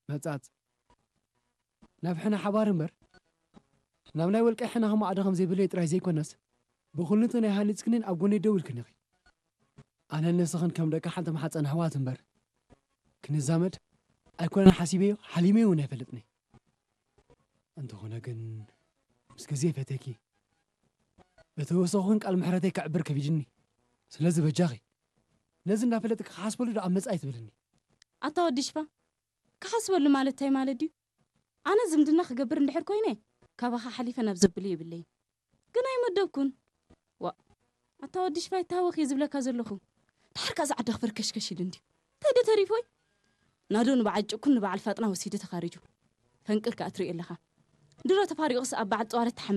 መጻጽ ናብ ሕነ ሓባር እምበር ናብ ናይ ወልቀ ሕነ ከማዕዶ ከም ዘይብለይ ጥራይ ዘይኮነስ ብኹልንቶ ናይ ሃኒጽክንን ኣብ ጎነይ ደው ኢልክን ኢኺ። ኣነን ንስኽን ከም ደቂ ሓንቲ ማሕፀን ኣሕዋት እምበር ክንዛመድ ኣይኮነን ሓሲበዮ ሓሊመዮ እውን ኣይፈልጥኒ። እንተኾነ ግን ምስ ግዜ ፈቴኪ በተወሰኹን ቃል ምሕረተይ ከዕብር ከቢድኒ። ስለዚ በጃኺ ነዚ እንዳፈለጥኪ ክሓስበሉ ዶ ኣብ መጻኢ ትብልኒ? ኣታ ወዲ ሽፋ፣ ክሓስበሉ ማለት እንታይ ማለት ድዩ? ኣነ ዝምድና ክገብር እንድሕር ኮይነ ካባኻ ሓሊፈ ናብ ዘብሉ የብለይን። ግን ኣይመደብኩን። ዋ፣ ኣታ ወዲ ሽፋ ይታወኽ እየ ዝብለካ ዘለኹ። ድሓር ከኣ ዝዓዳ ክፈርከሽከሽ ኢሉ እንድዩ። እንታይ ዶ ተሪፎይ? ናዶ ንበዓል ጭኩን ንበዓል ፋጥና ወሲዱ ተኻሪጁ። ፈንቅል ከኣ ትርኢ ኣለኻ። ድሮ ተፋሪቑስ ኣብ በዓል ጠዋለት